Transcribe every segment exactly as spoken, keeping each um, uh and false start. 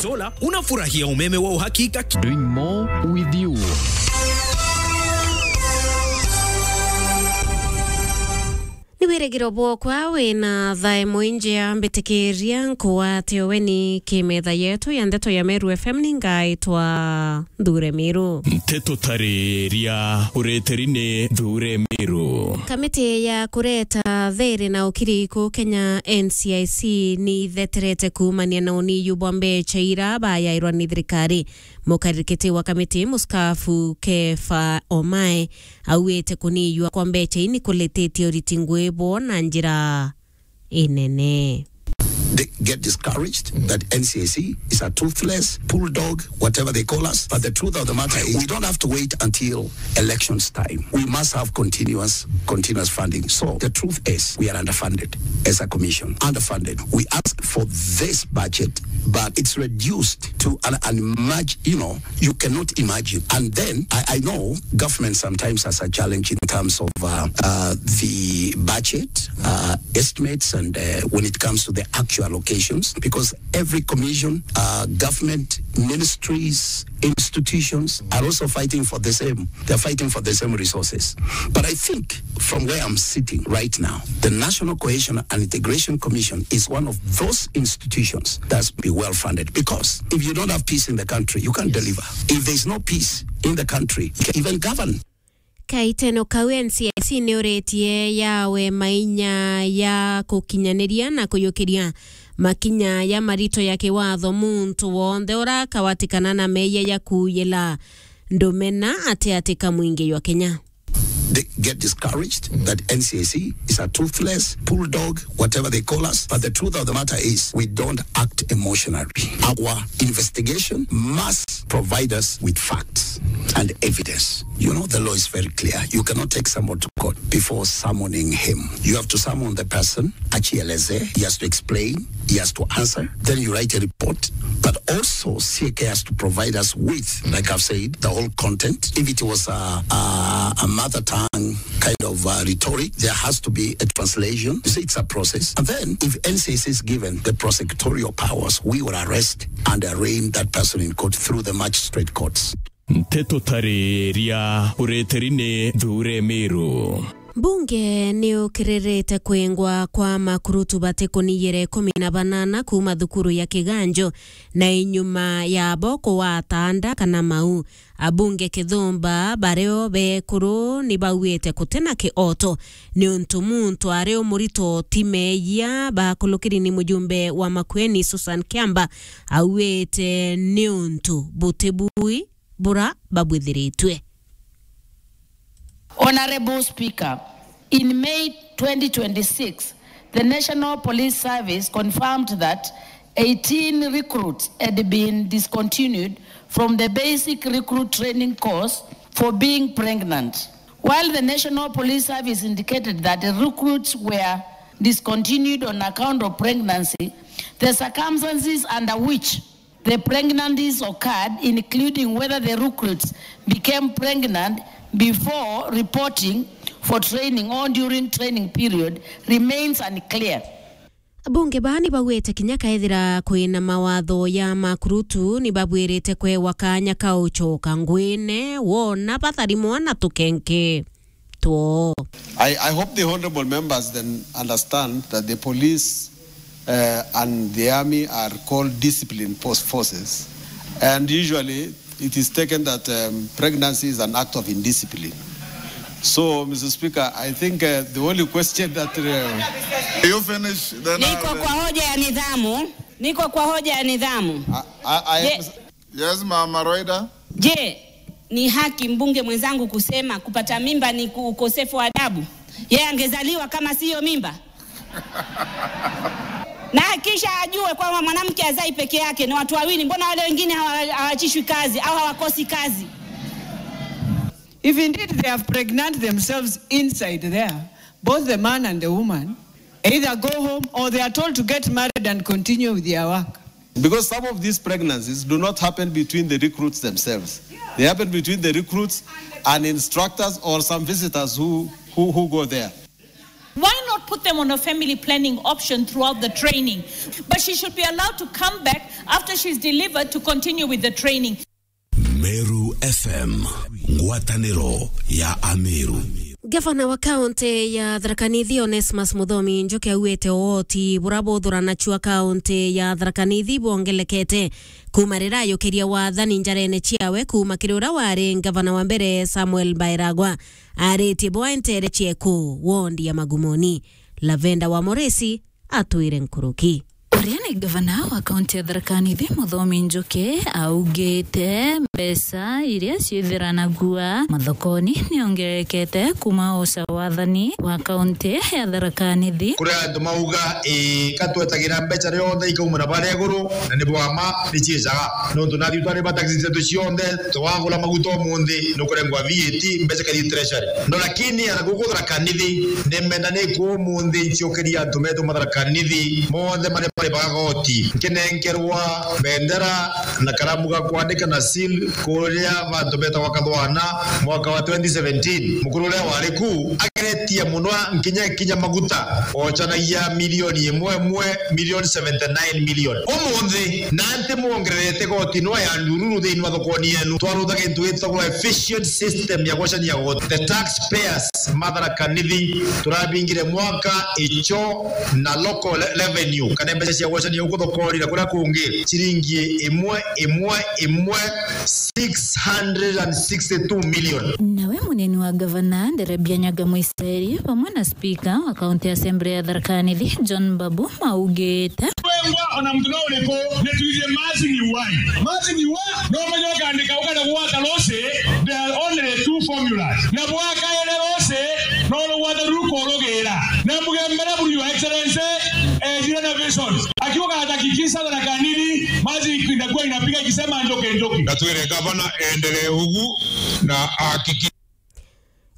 Solar, unafurahia umeme wa uhakika ki- Doing more with you. Ni wirigiro bwokwa wina thae mwinjia, mbitikiria nkuwate uweni ki metha yetu ya ndeto ya Meru F M. Ningaitwa Nthure Miru. Nteto tariria ureteri ni Nthure Miru. Kamiti ya kureta thiri na ukiri ku Kenya, N C I C, ni itheterete kuumania na uniyu bwa mbecha ira bayairwa ni thirikari. Mukarikiti wa kamiti, muskafu Kefa Omae, auite kuniyua kwa mbecha ii ni kulititie uriti ngui bwo na njira inene. They get discouraged that N C I C is a toothless bulldog, whatever they call us. But the truth of the matter is, we don't have to wait until elections time. We must have continuous, continuous funding. So the truth is, we are underfunded as a commission, underfunded. We ask for this budget, but it's reduced to an, an imag-, you know, you cannot imagine. And then I, I know government sometimes has a challenge in terms of, uh, uh, the budget, uh, estimates, and, uh, when it comes to the actual allocations, because every commission, uh, government, ministries, institutions are also fighting for the same. They're fighting for the same resources. But I think from where I'm sitting right now, the National Cohesion and Integration Commission is one of those institutions that's be well funded, because if you don't have peace in the country, you can't deliver. If there's no peace in the country, you can't even govern. Kaiteno kau, N C I C ni uritie yawe mainya ya kukinyaniria na kuyukiria makinya ya marito ya kiwatho muntu wonthe ura akawatikana na meeyia ya kuuyila ndumena ati atika mwingi jwa Kenya. They get discouraged that N C I C is a toothless bulldog, whatever they call us. But the truth of the matter is, we don't act emotionally. Our investigation must provide us with facts and evidence. You know, the law is very clear. You cannot take someone to court before summoning him. You have to summon the person, achieleze, he has to explain, he has to answer. Then you write a report. But also, C A K has to provide us with, like I've said, the whole content. If it was a, a, a mother tongue kind of, uh, rhetoric, there has to be a translation. You see, it's a process. And then, if N C I C is given the prosecutorial powers, we will arrest and arraign that person in court through the magistrate courts. Nteto tariria ureteri ni Nthure Miru. Mbunge ni ukiririte kwingwa kwa makurutu batikuniyire ikumi na banana kuuma thukuru ya Kiganjo na inyuma yabo kuwata nda kana mau. Abunge kithumba bario bekuru ni bauite kutina kioto niuntu muntu ari umurito ti meeyia bakulukiri ni mujumbe wa Makueni Susan Kiamba auite niuntu buti bui bura babwithiritue. Honorable Speaker, in May twenty twenty-six, the National Police Service confirmed that eighteen recruits had been discontinued from the basic recruit training course for being pregnant. While the National Police Service indicated that the recruits were discontinued on account of pregnancy, the circumstances under which the pregnancies occurred, including whether the recruits became pregnant before reporting for training or during training period, remains unclear. Abunge baa ni baugite kinya kaethira kwina mawatho ya makurutu, ni babwirite kwewa kanya ka ucoka ngwine wona batharimwa na tukenke two. I, I hope the honorable members then understand that the police, uh, and the army are called disciplined post forces, and usually it is taken that, um, pregnancy is an act of indiscipline. So, Mister Speaker, I think, uh, the only question that, uh, You finish, then I Niko will kwa hoja ya nidhamu. Niko kwa hoja ya nidhamu. I, I, I Je- Yes, Mama Roida. Je, ni haki mbunge mwenzangu kusema kupata mimba ni ku-, ukosefu wa adabu? Yeye angezaliwa kama siyo mimba? Na kisha ajue kwamba mwanamke azai peke yake, ni watu wawili. Mbona wale wengine hawa-, hawachishwi kazi au hawakosi kazi? If indeed they have pregnant themselves inside there, both the man and the woman, either go home or they are told to get married and continue with their work. Because some of these pregnancies do not happen between the recruits themselves. They happen between the recruits and instructors or some visitors who, who, who go there. Why not put them on a family planning option throughout the training, but she should be allowed to come back after she's delivered to continue with the training. Meru F M, ngwatanĩro ya Ameru. Gavana wa kaunti ya Tharaka Nithi, Onesmus Muthomi Njuki, augite uoti bura buthuranachu wa kaunti ya Tharaka Nithi bwongelekete kuuma riria ayukirie wathani njarene ciawe kuuma kiri uria wari gavana wa mbere, Samuel Bairagwa. Aritie bwa entere cieku wondi ya Magumoni. Lavenda wa Moresi atwire nkuruki. Uria ni gavana wa kaunti ya Tharaka Nithi, Muthomi Njuki, augite mbeca iria ciithiranagua mathokoni niongerekete kuuma uca wathani wa kaunti ya Tharaka Nithi. Kuri antu mauga, ii, ka twetagira mbeca rionthe ikaumira baria iguru, na ni bwa ma, ni ciicaga. Nontu nathi twari ba taxi cietu cionthe, twagura maguta umunthi, nukurengwa V A T, mbeca ikathi treasury. No lakini ana guku Tharaka Nithi, ni menda ni ku umunthi ncukiria antu betu ma Tharaka Nithi, monthe mari bari bagoti. Nkinenkerwa bendera na karamu ga kwandika na seal kuria bantu betagwa Kathwana mwaka wa twenty seventeen. Mukuru uria wari ku ageretie muno nkinya kinya maguta, ocanagia milioni imwe imwe, milioni seventy nine million. Umunthi, na nti mwongererete goti no ya ndururu thiini wa thokoni yenu. Twarutha gintu gitagwa efficient system ya gwacania goti. The taxpayers ma Tharaka Nithi turabingire mwaka icho na local le-, revenue, kana mbeca cia gwacania guku thokoni na kuria kungi, ciringi imwe, imwe, imwe, six hundred and sixty-two million. Nawe munini wa gavana, Nderebia Nyaga Mwiseri, vamwe na spika wa County Assembly ya Tharaka Nithi, John Mbabu, maugite. Wengwa ona mtu no uriku, ni twithie mazi ni wai. Mazi ni wa? No menye ukandika ukenda gwata losi, there are only two formulas. Na bwakaere losi, no rugwata rukurugira. Na mugembere buri Your Excellency, eh, zile na visions. Akiwa anahakikisha Tharaka Nithi, mazi inakuwa inapiga ikisema njoke njoke. Na twire gavana endelee ugu na ahakiki-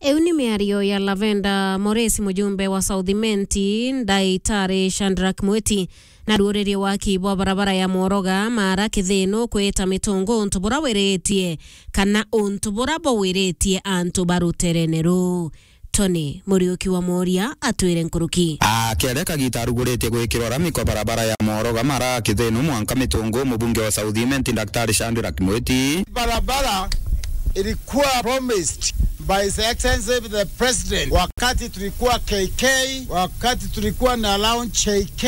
Iu ni miario ya Lavenda Moresi, mujumbe wa South Imenti, Ndaitari Shadrack Mwiti, na ruuririe waki bwa barabara ya Mworoga Mara Kithinu kwita Mitungu untu bura wiritie kana untu bura bawiritie antu ba ruterene ruu. Tony Muriuki wa Moria atwire nkuruki. Akere kagita aruguritie gwikirwa rami kwa barabara ya Mworoga Mara Kithinu mwanka Mitungu, mubunge wa South Imenti, Daktari Shadrack Mwiti. Barabara ilikuwa promised by His Excellency the President wakati tulikuwa K K, wakati tulikuwa na launch K K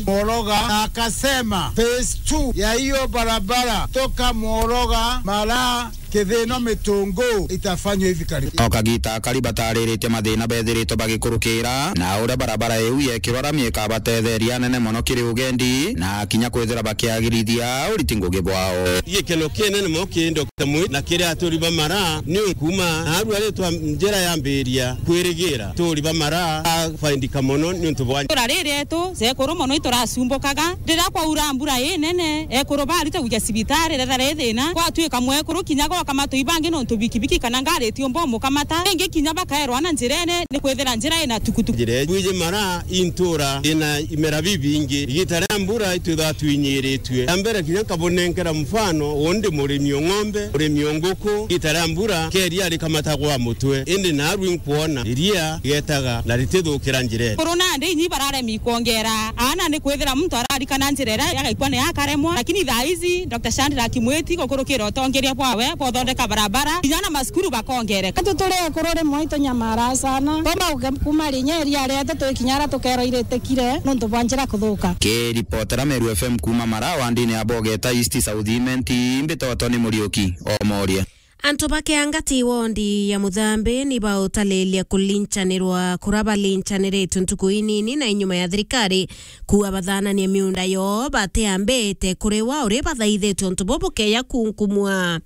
Mworoga, na akasema phase two ya hiyo barabara toka Mworoga Mara Kithinu Mitungu itafanywa hivi karibuni. O kagita akari batariritie mathina bethiritwe bagikurukira, na uria barabara iu yekirwa rami ikabatetheria anene mono kiri ugendi, na kinya kwithira bakiagirithia uriti ngugi bwao. Gikeno kinene mono kiri Doctor Mwiti na kiri aturi ba Mara, ni kuma narua ritwa njira yambiria kwirigira aturi ba Mara afaindika mono ni untu bwa. Itũra riri rietu, cekuru mono ituracumbukaga. Riria kwaura mbura inene, ekuru barite gwija cibitari, retha ri thina, gwatuika mwekuru kinya goka matui bangi nontu bikibiki kana ngari itiumba umukamata. Ringi kinya bakaerwa na njirene, ni kwithira njira ina tukutuku. Njira bwije Mara intura ina imera bibingi. Igita ria mbura itwithaga twinyiritue. Ya mbere kinya nkabunenkera mfano, undi murimi o ng'ombe, murimi o nguku, igita ria mbura, keria rikamatagwa mutwe. Indi narua inkwona iria igetaga na ritithukira njirene. Kuru nandi inyi bararemi kwongera aana ni kwithira muntu ararikana njira iria yagaikwa ni akaremwa, lakini thaa ici Doctor Shadrack Mwiti gukurukira utongeria bwawe bwa uthondeka barabara, kinya na macukuru bakongereka. Antu turi ekuru rimwe itunyamara sana. Toma uge kuma rinya iria rietu twikinya aria tukerwa iritikire nontu bwa njira kuthuka. Kiripotera Meru F M kuma Mara wandini ya Bogeta East South Imenti, mbitoto ni Muriuki o Moria. Antu ba Kiangati wondi ya Muthambi ni bautaliria kulinchanirwa kura balinchaniritie ntuku inini na inyuma ya thirikari kuua bathananie miunda yoo batiambite kuriwa uria bathaithitwe untu buu bukeya kunkumua.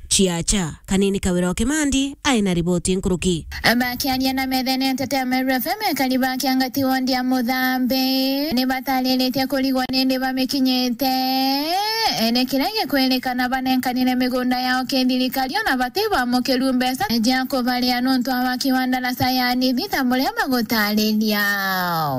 Chiacha, Kanini Kawira wa Kimandi, aina riboti nkuruki. Bakiaria na methenete ya Meru F M, ekari ba Kiangati wondi ya Muthambi ni batariritie kurigwa nindi bamikinyite. Ene kiria gikwirikana banenkanire migunda yao kithirikari ona bati bamukiru mbeca cia kubaria nontu wa waki wa ndaraca ya Nithi ta buria bagutariria.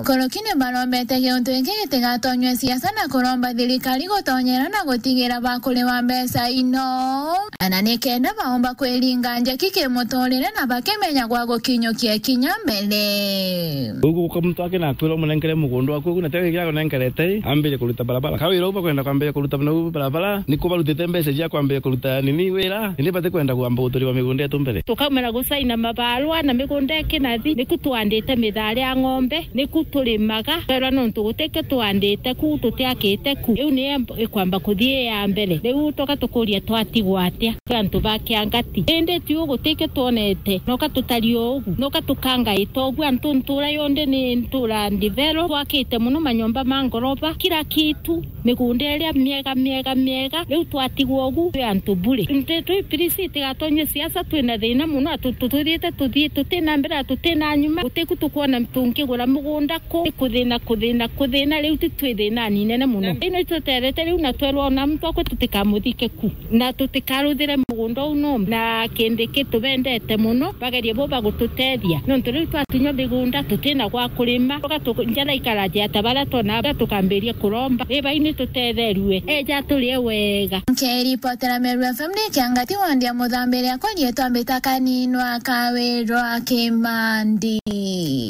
Kuruki ni barombete giuntu giki gitigatonywe siasa na kuromba thirikari gutonyera na gutigira bakuriwa mbeca ino. Ana nikenda baomba kwiringa njaki kimuturire na bakimenya gwa gukinyukia kinya mbere. Ugu guka muntu akina akwira umunenkere mugunda waku ugu, na tio gikira gunenkerete, ambire kuruta barabara. Ka wira uba kwenda kwambire kuruta na u barabara, ni kubarutite mbeca cia kwambire kuruta nini wira, indi bati kwenda kwamba guturira migunda yetu mbere. Tukaumira gusaina mabarua na migunda ikinathi, niku twandite mithari ya ng'ombe, niku turimaga, twerwa nontu gutikio twandite ku, tutiakite ku. Riu ni ikwamba kuthii ya mbere. Riu tuka tukuria twatigwa atia? Twi antu ba kiangati. Indi tiu gutikio twonete. Noka tutario ugu. Noka tukangaita ugu. Antu ntura yonthe ni ntura ndithero. Twakite mono manyomba ma ngoroba. Kila kitu. Migunda iria miega, miega, miega. Riu twatigwa ugu twi antu bure. Nti twi pirisi tigatonywe siasa twina thina mono. Atu tutwirite tuthii tutina mbere, tutina nyuma. Gutiku tukwona tungigura mugunda ku. Kuthina, kuthina, kuthina. Riu ti twi thinani nene mono. Ino ituterete riu na twerwa ona muntu akwe tutikamuthike ku. Na tutikaruthire mugunda uu no. Na kindi ki tubendete mono, bagerie bo bagututethia. Nontu riu twatunywa migunda, tutina gwa kurima. Tuga tu-, njara ikaraja ta baria twona, tukambiria kuromba. Ri bai ni tutetherue. Eja turie wega. Nkiripotera Meru F M ni Kiangati wandi ya Muthambiri akwa rietwa mbita Kaninwa Kawirwa Kimandi.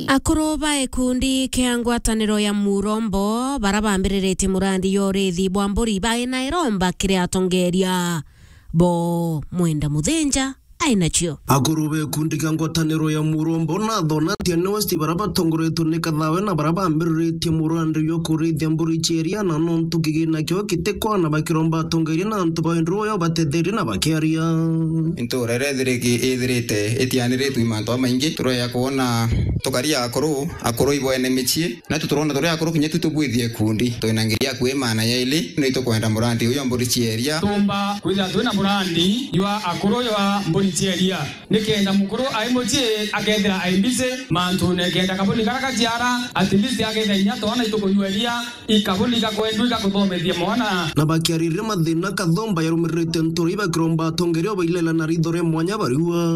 Akuru ba ikundi kia ngwataniro ya Murombo bara bambiriritie murandi ya urithi bwa mburi baina iromba kiri atongeria bo Mwenda Muthinja ainacio. Akuru ba ikundi kia ngwataniro ya Murombo na Thona Tiani West bara batongoretwe ni Kathawe na bara bambiriritie murandi jwa kurithia mburi cia iria na nontu kigina kio kitikwana bakiromba atongeria na antu ba wendo uyo batetherie na bakiaria. Ntura iria ithiriki-, ithirite itianiritwe i mantu jamaingi, tureja kwona tukaria akuru, akuru iboene micii, na tu turona turia akuru kinya tu tubwithie ikundi. Twina ngiri ya kwi maana yaili, ni tukwenda murandi uyu wa mburi cia iria. Tumba kwithira twina murandi jwa akuru jwa mburi cia iria. Nikenda mukuru ai mucii akethira ai busy mantune, kenda kabuni kara gaciara, at least akethira inya twana itukunywa iria, ikabuni gakwendwa igakuthomethia mwana. Na bakiaririria mathina Kathomba yarumiririte ntura ibakiromba atongeria bailela na ritho ria mwanya bariua.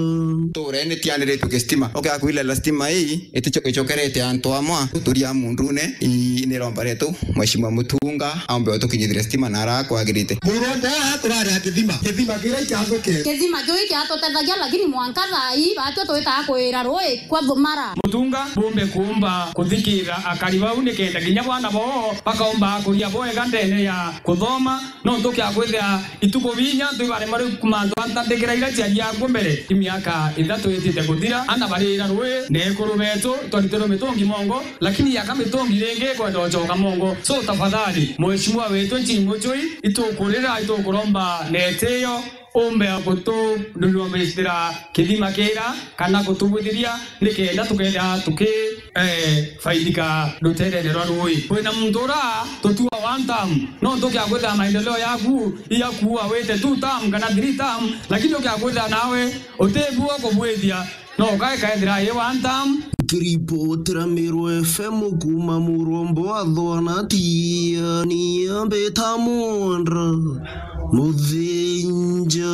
Ntura ii nitianiritwe gi stima. Ukiaga kwilela stima ii, itico-, icokerete antu amwe, turia mundune, i-, ni romba rietu, Mheshimiwa Mutunga, aombe utukinyithire stima na ara kwagirite. Murombo aa turari a kithima, kithima kiria ikiathukire. Kithima kiu ikiatutethagia, lakini mwanka thaa ii, batio twitaga kwira rui kwa thumara. Mutunga bumbe kuumba kuthikira akari bau, nikenda kinya bwana boo bakaumba kuria bwega ndene ya kuthoma. Nontu kia kwithira ituku binya antu ibarema riu mantu antandikira iria ciaria akuo mbere, i miaka ithatu itite kuthira, ana barira rui, na ekuru betu twaritirwe mitungi mongo, lakini yaka mitungi ringi ikwenda ucoka mongo. So tafadhali, mheshimiwa wetu Nchiri Muchui, itukurira, itukuromba na itiyo, umbe gutunurumistira kithima kira, kana gutubwithiria, nikenda tukethira tuki, eh, faidika ruterene rwa rui. Kwina muntu ura tutua one term, no tukia kwithira maendeleo yaku iya kuua wite two term kana three term, lakini ukia kwithira nawe utibua kubwithia, no ukae kaethira i one term. Nkiripotera Meru F M kuuma Murombo wa Thwana, Tiani Ambita Mwandra Muthinja.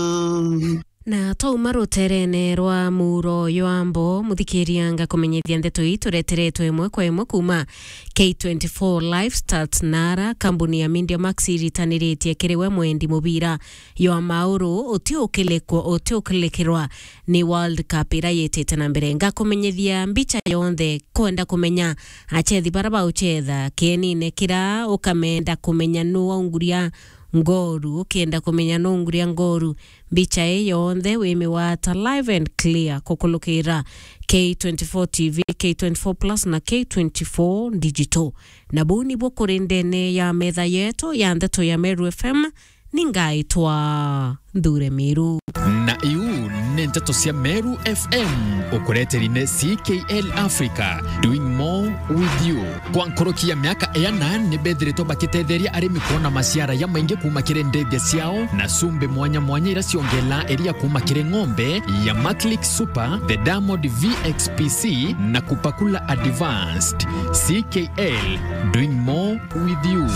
Na twauma ruterene rwa muro ywa mbo, muthikiria, ngakumenyithia ndeto ii tureteretwe imwe kwa imwe kuuma K twenty-four Live Stats Nara. Kambuni ya Media Max iritaniritie kiri we mwendi mubira ywa mauru, uti ukilikwa, uti ukilikirwa ni World Cup ira yitite na mbere. Ngakumenyithia mbicha yonthe. Kwenda kumenya achethi bara bauchetha kienine kira, ukamenda kumenya nu waunguria ngoru, ukenda kumenya nu unguria ngoru, mbicha ii yonthe wimigwata live and clear kukulukira K twenty-four T V, K twenty-four Plus na K twenty-four Digital. Na buu nibuo kuri ndene ya metha yetu ya ndeto ya Meru F M, ni ngaitwa Nthure Miru. Na iu ni ndeto cia Meru F M, ukureteri ni C K L Africa, doing more with you. Kwa nkuruki ya miaka iana, ni bethiritwe bakitetheria arimi kwona maciara jamaingi kuuma kiri ndithia ciao na cumbi mwanya mwanya ira ciongela iria kuuma kiri ng'ombe ya Maclick Super, the Diamond V X P C na Kupakula Advanced. C K L, doing more with you.